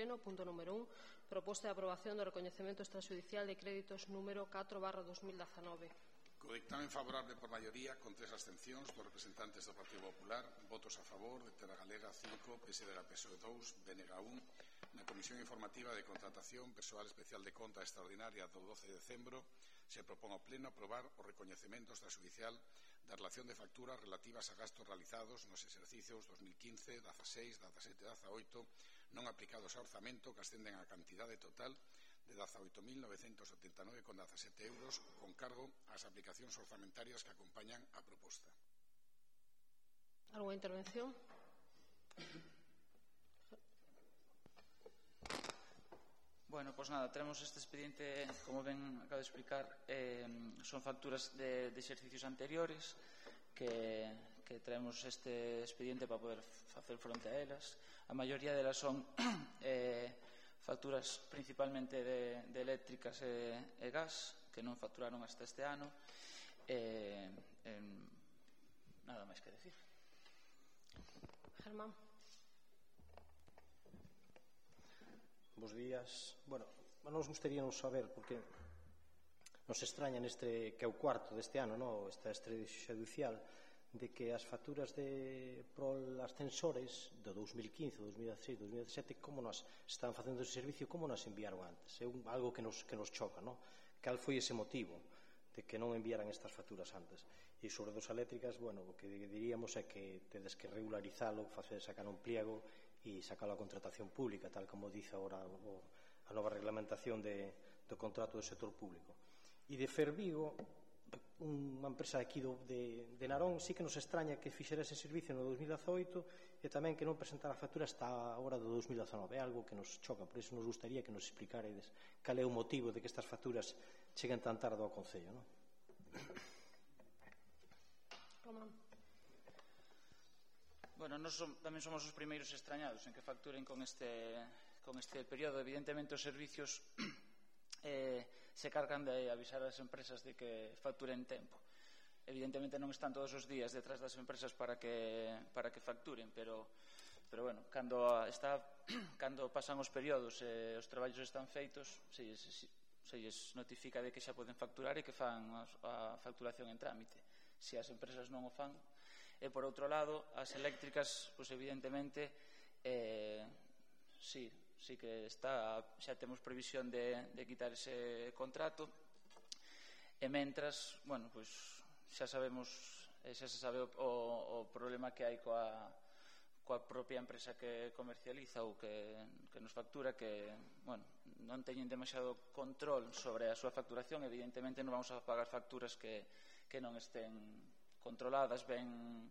pleno. Punto número 1. Proposta de aprobación do recoñecemento extrajudicial de créditos número 4/2019. Co dictamen favorable por maioría, con 3 abstencións dos representantes do Partido Popular, votos a favor de Terra Galega 5, PSDG-PSOE 2, BNG 1, na Comisión Informativa de Contratación Persoal Especial de Conta Extraordinaria do 12 de decembro, se propón ao Pleno aprobar o recoñecemento extrajudicial da relación de facturas relativas a gastos realizados nos exercicios 2015, 16, 17 e 18 non aplicados a orzamento, que ascenden a cantidade total de 18.979,17 euros, con cargo ás aplicacións orzamentarias que acompañan a proposta. Alguna intervención? Bueno, pois nada, tenemos este expediente, como ben acabo de explicar, son facturas de exercicios anteriores que traemos este expediente para poder facer fronte a elas. A maioría delas son facturas principalmente de eléctricas e gas que non facturaron hasta este ano. Nada máis que decir. Germán. Bos días. Bueno, nos gustaríamos saber, porque nos extraña neste, que é o cuarto deste ano, no? Esta extrajudicial, de que as facturas de prol ascensores do 2015, 2016, 2017, como nos estaban facendo ese servicio, como nos enviaron antes? É algo que nos choca, non? Cal foi ese motivo de que non enviaran estas facturas antes? E sobre dos eléctricas, bueno, o que diríamos é que tedes que regularizalo, sacar un pliego e sacalo a contratación pública, tal como dice agora a nova reglamentación do contrato do sector público. E de Fervigo, unha empresa aquí de Narón, sí que nos extraña que fixera ese servicio no 2018 e tamén que non presentara a factura hasta a hora do 2019. É algo que nos choca, por iso nos gustaría que nos explicaredes cal é o motivo de que estas facturas cheguen tan tarde ao Concello, non? Román. Bueno, nós tamén somos os primeiros extrañados en que facturen con este período. Evidentemente os servicios se cargan de avisar as empresas de que facturen tempo. Evidentemente non están todos os días detrás das empresas para que facturen, pero bueno, cando pasan os períodos e os traballos están feitos, se lles notifica de que xa poden facturar e que fan a facturación en trámite. Se as empresas non o fan. E por outro lado, as eléctricas, pois evidentemente sí que xa temos previsión de quitar ese contrato, e mentras, bueno, pois xa se sabe o problema que hai coa propia empresa que comercializa ou que nos factura, que, bueno, non teñen demasiado control sobre a súa facturación. Evidentemente non vamos a pagar facturas que non estén controladas, ben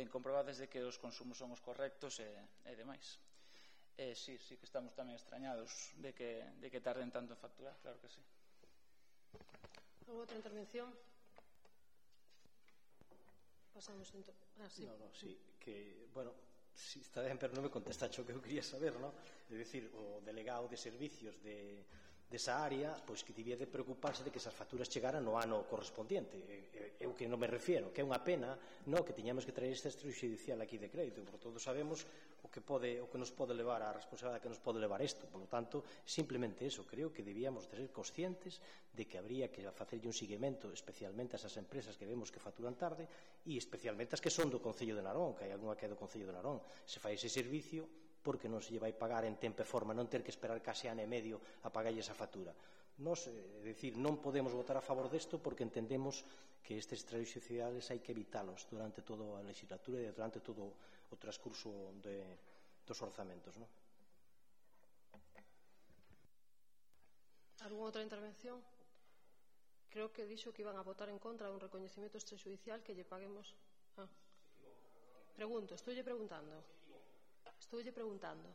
comprobadas de que os consumos son os correctos e demais. Sí que estamos tamén extrañados de que tarden tanto en facturar, claro que sí. Outra intervención? Pasamos sí. Sí, que, bueno, si está ben, pero non me contestaste o que eu quería saber, non? É dicir, o delegado de servicios desa área, pois que debía de preocuparse de que esas facturas chegaran no ano correspondiente. É o que non me refiero, que é unha pena, non, que teñamos que traer este extrajudicial aquí de crédito, por todos sabemos o que nos pode levar, a responsabilidade que nos pode levar isto. Por lo tanto, simplemente eso, creo que debíamos de ser conscientes de que habría que facerlle un seguimento especialmente a esas empresas que vemos que facturan tarde, e especialmente as que son do Concello de Narón, que hai algunha que é do Concello de Narón. Se fai ese servicio, porque non se lle vai pagar en tempo e forma, non ter que esperar case ano e medio a pagarlle esa factura. Nos, é dicir, non podemos votar a favor desto porque entendemos que estes extrajudiciales hai que evitalos durante toda a legislatura e durante todo o transcurso dos orzamentos, non? Algúna outra intervención? Creo que dixo que iban a votar en contra dun recoñecemento extrajudicial que lle paguemos. Estou preguntando.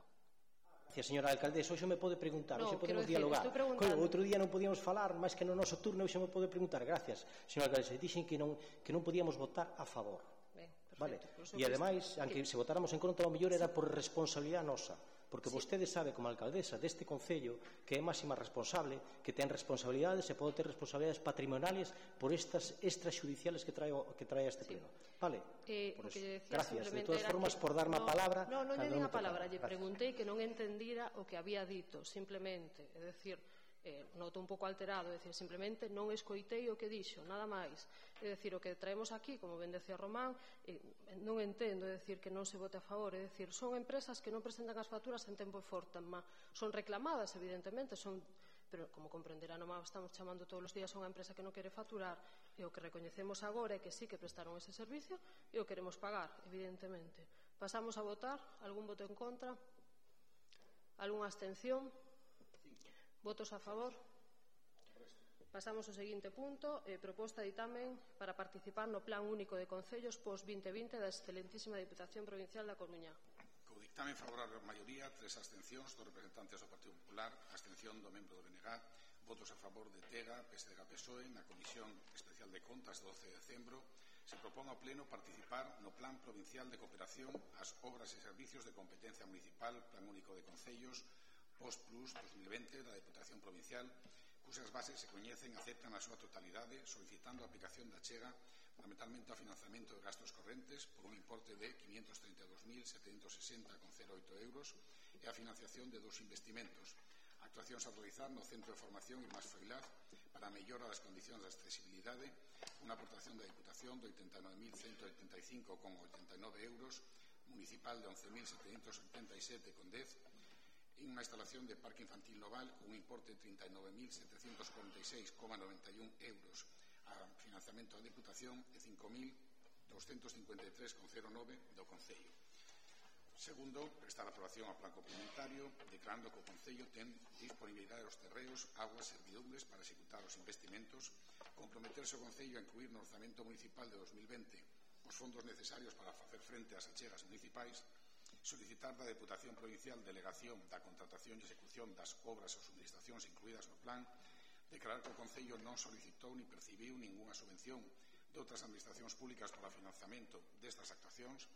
Gracias, señora alcaldesa, hoxe me pode preguntar, hoxe podemos dialogar. Outro día non podíamos falar, máis que no noso turno, hoxe me pode preguntar. Gracias, señora alcaldesa. Dixen que non podíamos votar a favor. Ben, perfecto. E ademais, aunque se votáramos en contra, o mellor era por responsabilidade nosa. porque vostede sabe como alcaldesa deste Concello que é máxima responsable, que ten responsabilidades e pode ter responsabilidades patrimoniales por estas extrajudiciales que trae a este pleno. Vale? Gracias. De todas formas, por darme a palabra. Non lle din a palabra, lle preguntei que non entendira o que había dito, simplemente, é dicir, noto un pouco alterado, é dicir, simplemente non escoitei o que dixo, nada máis. É dicir, o que traemos aquí, como ben decía Román, non entendo, é dicir, que non se vote a favor, é dicir, son empresas que non presentan as facturas en tempo e forma, son reclamadas, evidentemente, pero como comprenderá, non estamos chamando todos os días a unha empresa que non quere facturar, e o que recoñecemos agora é que sí que prestaron ese servicio e o queremos pagar, evidentemente. Pasamos a votar. Algún voto en contra? Algúnha abstención? Votos a favor? Pasamos ao seguinte punto, proposta de ditamen para participar no Plan Único de Concellos post-2020 da excelentísima Diputación Provincial da Coruña. Co ditamen favorable a maioría, 3 abstencións dos representantes do Partido Popular, abstención do membro do BNG, votos a favor de TEGA, PSDG-PSOE, na Comisión Especial de Contas do 12 de decembro, se propón ao Pleno participar no Plan Provincial de Cooperación ás obras e servicios de competencia municipal, Plan Único de Concellos, Post-Plus 2020 da Deputación Provincial, cusas bases se coñecen e aceptan na súa totalidade, solicitando a aplicación da achega fundamentalmente ao financiamento de gastos correntes por un importe de 532.760,08 euros e a financiación de 2 investimentos, actuacións a realizar no Centro de Formación Irmás Froilaz para a mellora das condicións de accesibilidade, unha aportación da Diputación de 89.185,89 euros, municipal de 11.787,10 e unha instalación de parque infantil noval con un importe de 39.746,91 euros a financiamento da Diputación e 5.253,09 do Concello. Segundo, prestar aprobación ao plan complementario, declarando que o Concello ten disponibilidade dos terreos, aguas e servidumbres para executar os investimentos, comprometerse o Concello a incluir no orzamento municipal de 2020 os fondos necesarios para facer frente ás achegas municipais, solicitar da Deputación Provincial delegación da contratación e execución das obras ou subministracións incluídas no plan, declarar que o Concello non solicitou ni percibiu ningunha subvención de outras administracións públicas para o financiamento destas actuacións,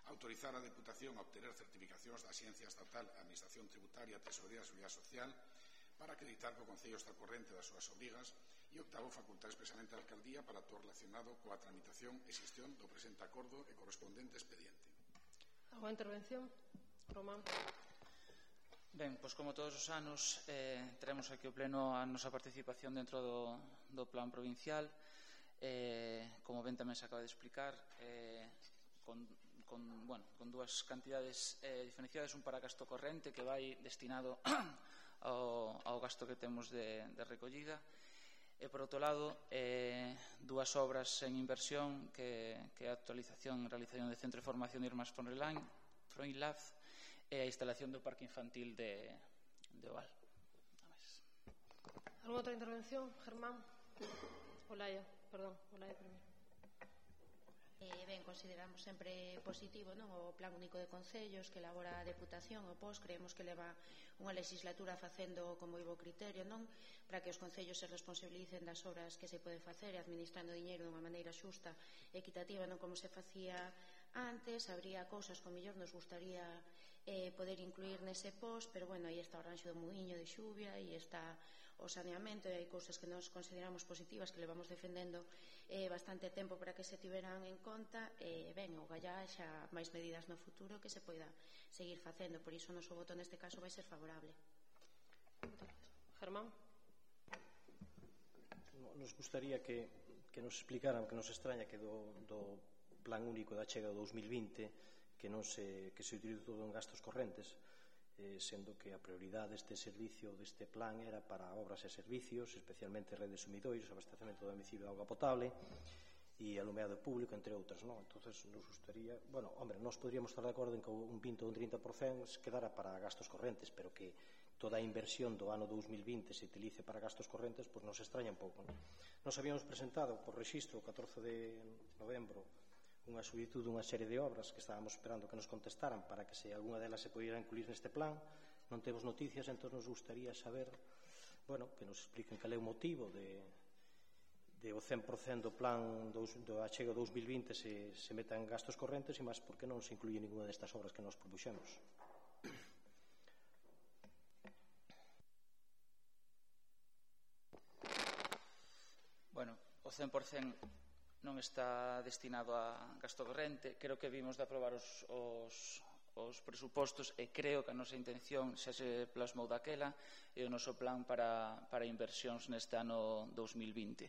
autorizar a Deputación a obtener certificacións da Axencia Estatal Administración Tributaria, Tesorería e Seguridade Social para acreditar que o Concello está ao corrente das súas obrigas e octavo, facultar expresamente a Alcaldía para todo relacionado coa tramitación e xestión do presente acordo e correspondente expediente. Alguna intervención? Román. Ben, pois como todos os anos traemos aquí ao Pleno a nosa participación dentro do plan provincial, como ben tamén se acaba de explicar, con dúas cantidades diferenciadas, un para gasto corrente que vai destinado ao gasto que temos de recollida, e por outro lado dúas obras en inversión que é a actualización e realización do Centro de Formación de Irmás Froilaz e a instalación do parque infantil de Oval. Alguna outra intervención? Germán? Olaya, perdón, Olaya primeiro. Ben, consideramos sempre positivo, non, o Plan Único de Concellos que elabora a Deputación, o POS, creemos que leva unha legislatura facendo con moi bo criterio, non, para que os concellos se responsabilicen das obras que se pode facer e administrando diñeiro dunha maneira xusta e equitativa, non como se facía antes. Habría cousas que mellor nos gustaría poder incluir nese POS, pero bueno, aí está o ranxo do Muiño de Xuvia e está o saneamento, e hai cousas que nos consideramos positivas que levamos defendendo bastante tempo para que se tiveran en conta, e ben, o gallá xa máis medidas no futuro que se poida seguir facendo, por iso o noso voto neste caso vai ser favorable. Germán? Nos gustaría que nos explicaran, que nos extraña que do Plan Único da Achega do 2020 que se utiliza todo en gastos correntes, sendo que a prioridade deste servicio, deste plan, era para obras e servicios, especialmente redes sumidoiros, abastecemento do domicilio de auga potable e alumeado público, entre outras, non? Entonces, nos gustaría, bueno, hombre, nós podríamos estar de acordo en que un 20 ou un 30% quedara para gastos correntes, pero que toda a inversión do ano 2020 se utilice para gastos correntes, pois nos extraña un pouco, non? Nos habíamos presentado por registro o 14 de novembro unha solicitud dunha serie de obras que estábamos esperando que nos contestaran para que se algunha delas se pudiera incluir neste plan. Non temos noticias, entón nos gustaría saber, bueno, que nos expliquen cal é o motivo de o 100% do plan do Achega 2020 se meta en gastos correntes e máis porque non se incluye ninguna destas obras que nos propuxemos. 100% non está destinado a gasto corrente. Creo que vimos de aprobar os presupostos e creo que a nosa intención xa se plasmou daquela e o noso plan para inversións neste ano 2020.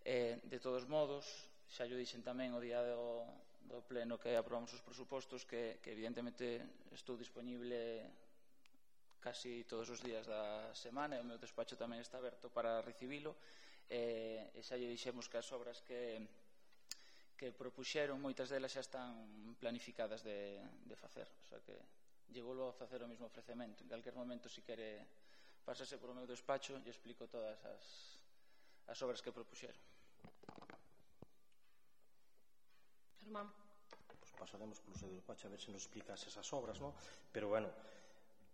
De todos modos, xa yo dixen tamén o día do pleno que aprobamos os presupostos que evidentemente estou disponible casi todos os días da semana e o meu despacho tamén está aberto para recibilo e xa lle dixemos que as obras que propuxeron, moitas delas xa están planificadas de facer, o sea que lle volvo a facer o mesmo ofrecemento. En calquer momento, se quere pasarse por o meu despacho, lle explico todas as obras que propuxeron. Germán. Pues pasaremos polo seu despacho a ver se nos explicas esas obras, non? Pero, bueno,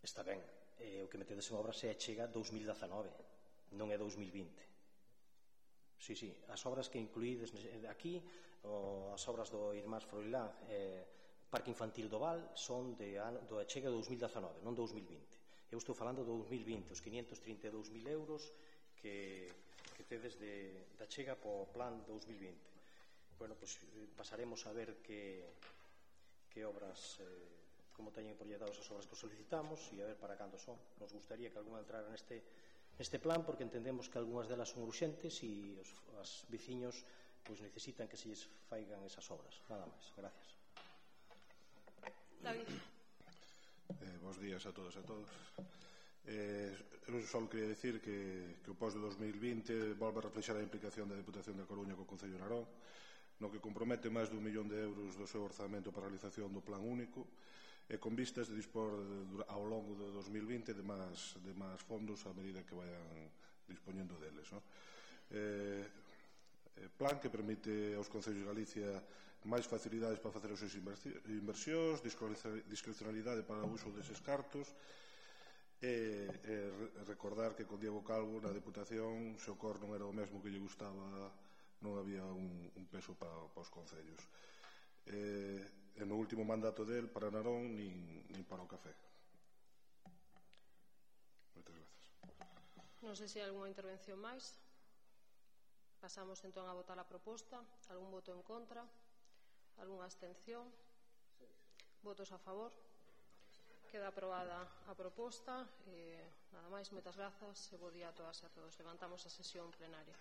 está ben. O que metedes en obras é chega 2019, non é 2020. Sí, as obras que incluídes aquí, as obras do Irmás Froilán, Parque Infantil do Val, son do chega 2019, non 2020. Eu estou falando do 2020, os 532.000 euros que tedes da chega po plan 2020. Bueno, pues pasaremos a ver que obras, como teñen proyectados as obras que solicitamos e a ver para cando son. Nos gustaría que algunha entrara neste plan porque entendemos que algunhas delas son urxentes e os veciños pues necesitan que se lles faigan esas obras. Nada máis. Gracias. David. Bos días a todos e a todos. Eu só queria decir que o POS de 2020 volve a reflexar a implicación da Deputación da Coruña co Concello de Narón, no que compromete máis de 1 millón de euros do seu orzamento para a realización do plan único e con vistas de dispor ao longo de 2020 de máis fondos a medida que vayan dispoñendo deles. Plan que permite aos Concellos de Galicia máis facilidades para facer as súas inversións, discrecionalidade para o uso deses cartos e recordar que con Diego Calvo na Deputación, se o cor non era o mesmo que lle gustaba, non había un peso para os concellos. E no último mandato del para Narón nin para o café. Moitas grazas. Non sei se hai algunha intervención máis. Pasamos entón a votar a proposta. Algún voto en contra? Algunha abstención? Votos a favor? Queda aprobada a proposta. Nada máis, moitas grazas e bo día a todas e a todos. Levantamos a sesión plenaria.